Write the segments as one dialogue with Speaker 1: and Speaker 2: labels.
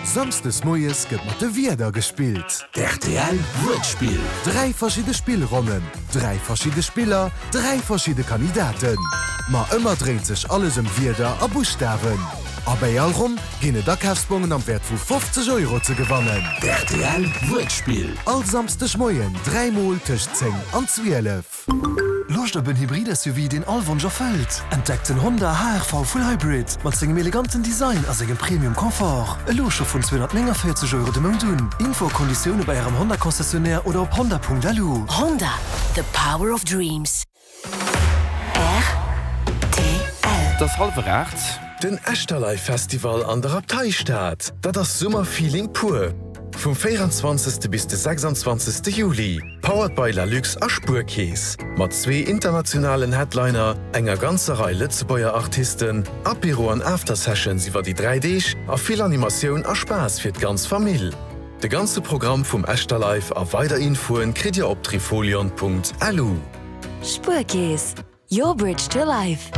Speaker 1: Samsdes moies gëtt mat de Wierder gespillt.
Speaker 2: D'RTL Wuertspill.
Speaker 1: 3 verschidde Spillronnen, 3 verschidde Spiller, 3 verschidde Kandidaten. Ma ëmmer dréint sech alles ëm Wierder a Buschtawen. A bäi all Ronn ginn et Akafsbongen am Wäert vu 50 Euro ze gewannen.
Speaker 2: D'RTL Wuertspill.
Speaker 1: All Samsdeg Moien 3 mol tëscht 10 an 12.
Speaker 3: Loscht op en Hybrid-SUV, deen all Wonsch erfëllt? Entdeckt den Honda HR-V Full Hybrid mat sengem eleganten Design a sengem Premium Confort. Elo scho vun 249 Euro de Mount un. Info a Konditioune bei Ärem Honda Concessionnaire oder op honda.lu.
Speaker 4: Honda, the power of dreams. Rtl.
Speaker 5: Et ass hallwer 8.
Speaker 6: Den Echterlive Festival an der Abteistad, dat ass Summerfeeling pur! Vum 24. Bis de 26. Juli, powered by Lalux a Spuerkeess, mat zwee internationalen Headliner, enger ganzer Rei Lëtzebuerger Artisten, Apéro an After-Sessions iwwer déi 3 Deeg a vill Animatioun a Spaass fir d'ganz Famill. De ganze Programm vum Echterlive a weider Infoen kritt dir op trifolion.lu.
Speaker 4: Spuerkeess, Your bridge to life.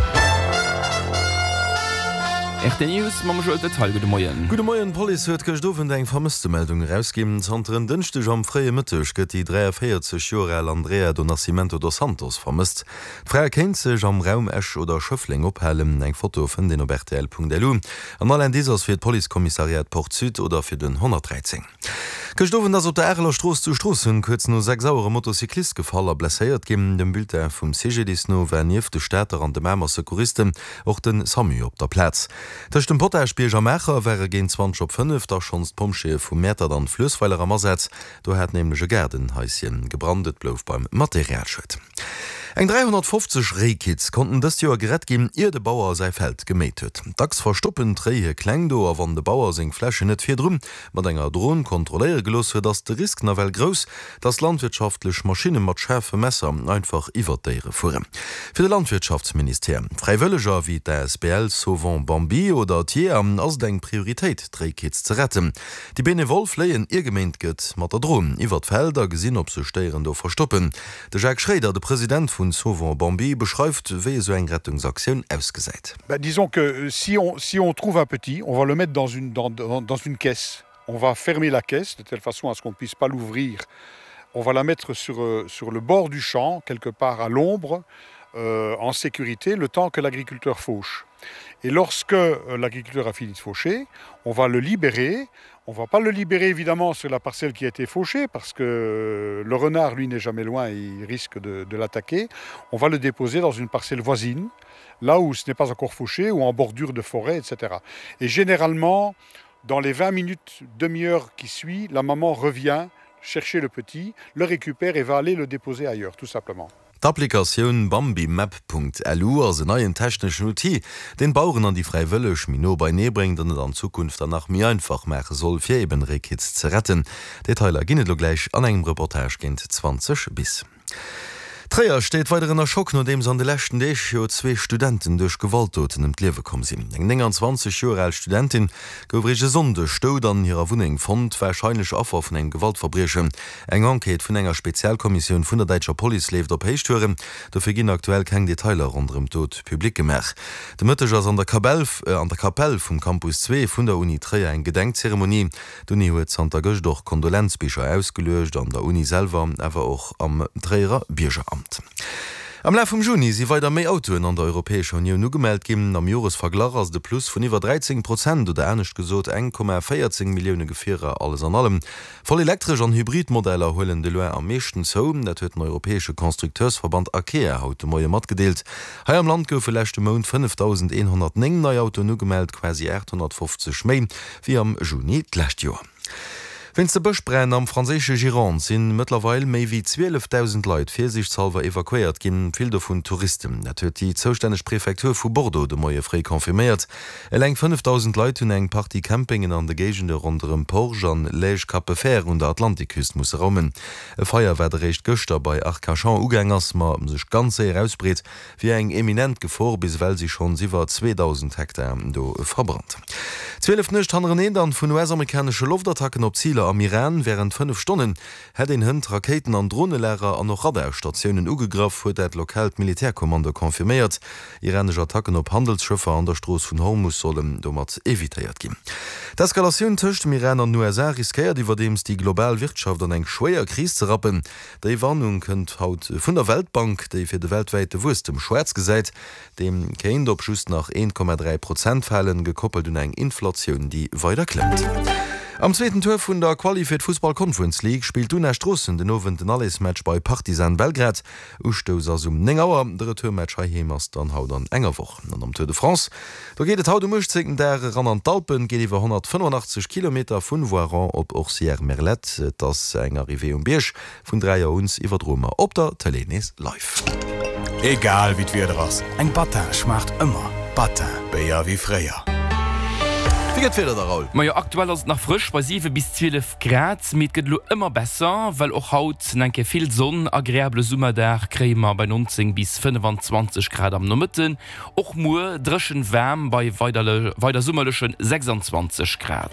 Speaker 5: RT News mam Joël Detaille. Gudde Moien.
Speaker 7: Gudde Moien. D'Police huet gëscht Owend eng Vermësstemeldung erausginn. Zanter en Dënschdeg am fréie Mëtteg gëtt déi 43 Joer al Andrea do Nascimento dos Santos vermësst. D'Fra kéint sech am Raum Esch oder Schëffleng ophalen. Eng Foto fënnt een op rtl.lu an all Indice ass fir d'Policekommissariat Port Sud oder fir den 113. Gëscht Owend ass op der Areler Strooss zu Stroossen kuerz no 6 Auer e Motocyclist gefall a blesséiert ginn. Dem Bulletin vum CGDIS no war nieft de Stater an de Mamer Secouristen och de Samu op der Plaz. Tëscht dem Potaschbierg a Maacher ware géint 20 op 5 da schonns d'Pompjeeë vu Mäertert an Fluessweiler am Asaz. Do hat nämlech e Gaardenhaisschen gebrannt. Et blouf beim Materialschued. Eng 350 Réikitz konnten dëst Joer gerett ginn, ier de Bauer säi Feld geméit huet. Dacks verstoppen d'Réi hir Kleng do a wann de Bauer seng Flächen net virdru mat enger Dron kontrolléiere gelooss huet, ass de Risk nawell grouss, dass landwirtschaftlech Maschinne mat schaarfe Messer einfach iwwer d'Déiere fueren. Fir de Landwirtschaftsministère, Fräiwëlleger wéi d'ASBL Sauvons Bambi oder d'Jeeër ass et eng Prioritéit, d'Réikitz ze retten. Déi Benevol fléien, ier geméint gëtt, mat der Dron iwwer d'Feld a gesinn, ob sech Déieren do verstoppen. De Jacques Schréider, de President vun Sauvons Bambi, beschreift, wéi esou eng Rettungsaktioun ausgesäit.
Speaker 8: Disons que si on, si on trouve un petit, on va le mettre dans une, dans, dans, dans une caisse. On va fermer la caisse de telle façon à ce qu'on ne puisse pas l'ouvrir. On va la mettre sur, euh, sur le bord du champ, quelque part à l'ombre, euh, en sécurité, le temps que l'agriculteur fauche. Et lorsque euh, l'agriculteur a fini de faucher, on va le libérer. On va pas le libérer évidemment sur la parcelle qui a été fauchée parce que le renard lui n'est jamais loin et il risque de, de l'attaquer. On va le déposer dans une parcelle voisine, là où ce n'est pas encore fauché ou en bordure de forêt, etc. Et généralement, dans les 20 minutes, demi-heure qui suit, la maman revient chercher le petit, le récupère et va aller le déposer ailleurs, tout simplement.
Speaker 7: D'Applikatioun bambimap.lu ass en neien techneschen Outil, deen d'Baueren an déi Fräiwëlleg méi no beienee bréngt an et an Zukunft dann nach méi einfach maache soll, fir eben Réikids ze retten. Detailer ginn et elo gläich an engem Reportage géint 20 bis. Tréier steet weider ënner Schock, nodeems an de leschten Deeg jo zwee Studenten duerch Gewaltdoten ëm d'Liewe komm sinn. Eng 29 Joer al Studentin gouf eréischt e Sonndeg dout an hirer Wunneng fonnt, warscheinlech Affer vun engem Gewaltverbriechen. Eng Enquête vun enger Spezialkommissioun vun der däitscher Police leeft op Héichtouren. Dofir ginn aktuell keng Detailer ronderëm d'Dot public gemaach. De Mëtteg ass an der an der Kapell vum Campus 2 vun der Uni Tréier eng Gedenkzeremonie. D'Uni huet zanter gëscht och Kondolenzbicher ausgeluecht, an der Uni selwer, awer och am Tréierer Biergeramt. Am Laf vum Juni si weider méi Autoen an der Europäescher Unioun ugemellt ginn. Am Joresverglach ass et e Plus vun iwwer 13 Prozent, oder anescht gesot 1,14 Millioune Gefierer alles an allem. Voll elektresch an hybrid Modeller huelen de loin am meeschten zou. Dat huet den europäesche Constructeursverband ACEA haut de Moie matgedeelt. Hei am Land goufe leschte Mount 5.109 nei Autoen ugemellt, quasi 850 méi wéi am Juni d'lescht Joer. Wéinst de Bëschbränn am franséische Gironde si mëttlerweil méi wéi 12.000 Leit virsiichtshallwer evakuéiert ginn, vill dovun Touristen. Dat huet déi zoustänneg Prefektur vu Bordeaux de Moie fréi confirméiert. Eleng 5.000 Leit hunn eng Partie Campingen an de Géigende ronderëm Porge an Lège-Capefer un der Atlantikküst musse raumen. E Feier, wat eréischt gëschter bei Arcachon ugaang ass, ma sech ganz séier ausbreet, Wier eng eminent Gefor, bis ewell si schonns iwwer 2.000 Hektar do verbrannt. 12 Nuecht hannereneen dann vun US-amerikanesche Loftattacken op Ziler am Iran. Wärend 5 Stonnen hätt een hënt Rakéiten an Dronelager an och Radarstatiounen ugegraff, huet dat lokaalt Militärkommando confirméiert. Iranesch Attacken op Handelsschëffer an der Strooss vun Hormus sollen domat evitéiert ginn. D'Eskalatioun tëscht dem Iran an den USA riskéiert iwwerdeems déi global Wirtschaft an eng schwéier Kris ze rappen. Déi Warnung kënnt haut vun der Weltbank, déi fir de weltwäite Wuesstem schwaarz gesäit. Deem kéint op just nach 1,3 Prozent falen, gekoppelt un eng Inflatioun, déi weider klëmmt. Am zweeten Tour vun der Quali fir d'Fussball Conference League spillt d'Una Stroossen den Owend den Allersmatch bei Partizan Belgrad. Ustouss ass um 9 Auer, de Retourmatch heiheem ass dann haut an enger Woch. An am Tour de France, do geet et haut um 18. Dag eran an d'Alpen. Et geet iwwer 185 Kilometer vun Voiron op Orcières-Merlette. Et ass eng Arrivée um Bierg. Vun 3 Auer un iwwerdroe mer op der Tëlee nees live.
Speaker 9: Egal wéi d'Wieder ass, eng Battin schmaacht ëmmer. Battin, Béier wéi fréier.
Speaker 7: Wéi gëtt d'Wieder da, Raoul?
Speaker 5: Majo, aktuell ass et nach frësch bei 7 bis 12 Grad, mee et gëtt elo ëmmer besser, well och haut nach eng Kéier vill Sonn. Agreabele Summerdag kréie mer bei 19 bis 25 Grad am Nomëtten. Och muer dréchen waarm bei weider summerleche 26 Grad.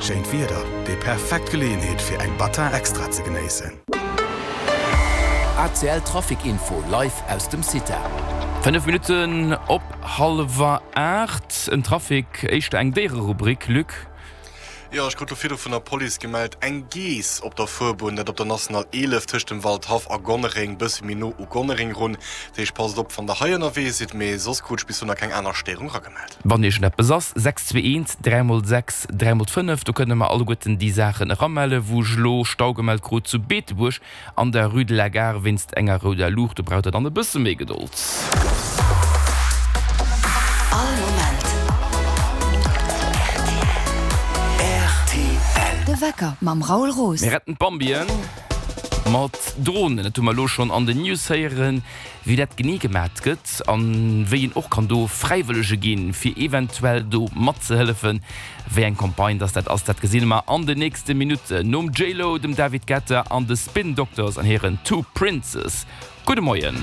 Speaker 9: Schéint Wieder, déi perfekt Geleeënheet fir eng Battin Extra ze genéissen.
Speaker 2: ACL Trafic Info live aus dem CITA.
Speaker 5: 5 Minutten op hallwer 8, en Trafic, éischter eng Déiererubrik, Luc.
Speaker 6: Jo, ech krut lo virdru vun der Police gemellt, eng Geess op der Fuerbunn, dat op der National 11 tëscht dem Waldhaff a Gonnereng, bësse méi no u Gonnereng run. Dat heescht, passt op, wann der hei ënnerwee sidd, mee soss krut ech bis elo nach keng aner Stéierung eragemellt.
Speaker 5: Wann iergendeppes ass, 6 2 1 3 mol 6 3 mol 5, do kënne mer alleguerten déi Saachen eramelle wou ech elo Stau gemellt krut zu Beetebuerg. An der Rue de la Gare wéinst enger rouder Luucht, do braucht der dann e bësse méi Gedold.
Speaker 4: All Moment rtl. De Wecker mam Raoul Roos.
Speaker 5: Mir retten d'Bambien mat Dronen. Dat hu mer elo schonn an den News héieren. Wéi dat genee gemat gëtt an wéi een och kann do Fräiwëllege ginn, fir eventuell do matzehëllefen, wéi eng Campagne dass dat ass, dat gesinn mer an den nächste Minutten nom J-Lo, dem David Guetta an de Spin Doctors an hiren Two Princes. Gudde Moien.